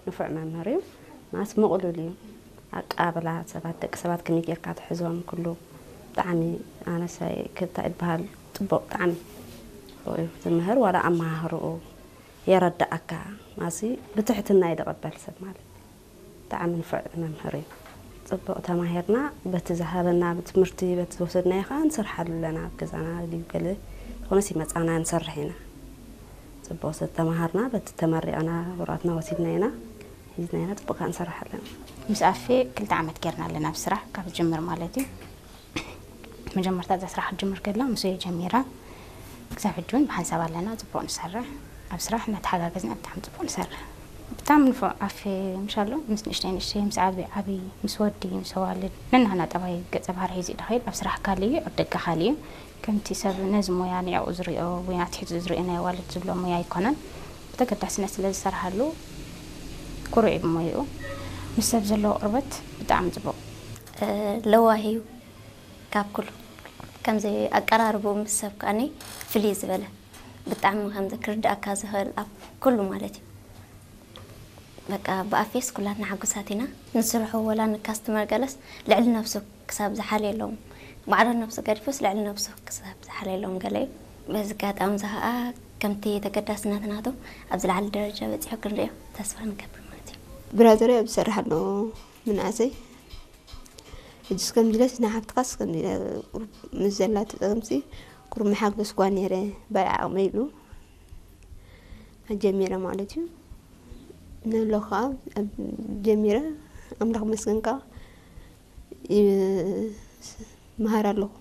ንፉዕ መምህር እዩ። ማለት ምቕሉል እዩ። ኣቀባብላ ሰባት፣ ደቂ ሰባት ከመይ ጌርካ ትሕዞም፣ ኩሉ ብጣዕሚ፣ ኣነሳይ ክብታ ይበሃል፣ ጽቡቕ፣ ብጣዕሚ ጽቡቕ እዩ ዝምህር። ዋላ ኣመሃህርኡ የረድኣካ፣ ማሲ ብትሕትና እዩ ዝቕበል ሰብ ማለት። ብጣዕሚ ንፉዕ መምህር እዩ። ጽቡቕ ተማሂርና፣ በቲ ዝሃበና ትምህርቲ፣ በቲ ዝወሰድናዮ ኸዓ ንሰርሓሉ ኣለና። ኣብ ገዛና ድዩ ገለ ዝኾነስ ይመጻና፣ ንሰርሕ ኢና። ጽቡቕ ዝተማሃርና፣ በቲ ተመሪቕና፣ ወረቐትና ወሲድና ኢና፣ ሒዝና ኢና፣ ጽቡቕ ከኣ ንሰርሕ ኣለና። ምስ ኣፌ ክልተ ዓመት ጌርና ኣለና፣ ኣብ ስራሕ ካብ ዝጅምር ማለት እዩ። መጀመርታ እዛ ስራሕ ክትጅምር ከላ፣ ምስ እየ ጀሚራ። ክሳብ ሕጂ እውን ብሓንሳብ ኣለና፣ ጽቡቕ ንሰርሕ። ኣብ ስራሕ እናተሓጋገዝና ብጣዕሚ ጽቡቕ ንሰርሕ። ብጣዕሚ ንፉዕ ኣፌ፣ ምሻሎ ምስ ንእሽተይ ንእሽተይ፣ ምስ ዓቢ ዓቢ፣ ምስ ወዲ፣ ምስ ኣዋልድ፣ ነናህና ጠባይ ገጸ ባህሪ ሒዙ እዩ ዝኸይድ። ኣብ ስራሕ ካልእ እዩ፣ ኣብ ደገ ካልእ እዩ። ከምቲ ሰብ ነዚ ሞያ ንዕኡ ዝሪኦ ወይ ኣትሒዙ ዝሪኦ ናይ ኣዋልድ ዝብሎ ሞያ ኣይኮነን። ብተገዳስነት ስለ ዝሰርሓሉ ኩሩዕ እዩ ብሞይኡ። ምስ ሰብ ዘለዎ ቅርበት ብጣዕሚ ጽቡቕ። እ፣ ለዋህ እዩ ካብ ኩሉ። ከምዚ ኣቀራርብኡ ምስ ሰብ ከኣኒ ፍልይ ዝበለ። ብጣዕሚ ከምዚ ክርድኣካ ዝኽእል ኣብ ኩሉ ማለት እዩ። በቃ ብኣፌስ ኩላትና ሕጉሳት ኢና። ንስርሑ ወላ ንካስተመር ገለስ ልዕሊ ነብሱ ክሳብ ዝሓልየሎም፣ ማዕረ ነብሱ ገዲፉስ ልዕሊ ነብሱ ክሳብ ዝሓልየሎም ገለ እዩ። በዚ ኣጋጣሚ እዚ ኸኣ ከምቲ ተገዳስነት ናቱ ኣብ ዝለዓለ ደረጃ በጺሑ ክንሪኦ ተስፋ ንገብር ማለት እዩ። ብራዘረይ ኣብ ዝሰርሕ ኣሎ ምንኣሰይ ሕጅስ ከምዚ ኢለስ ንሓፍትኻስ ከምዚ ኢለ ቁሩብ ምስ ዘላቶ ጸገምሲ ቁሩብ መሓገዝኳ ነይረ። ባይ ዓቕመይ ኢሉ ኣጀሚረ ማለት እዩ። ንሎ ኸዓ ኣብ ጀሚረ ኣምላኽ መስገን ከኣ ይመሃር ኣለኹ።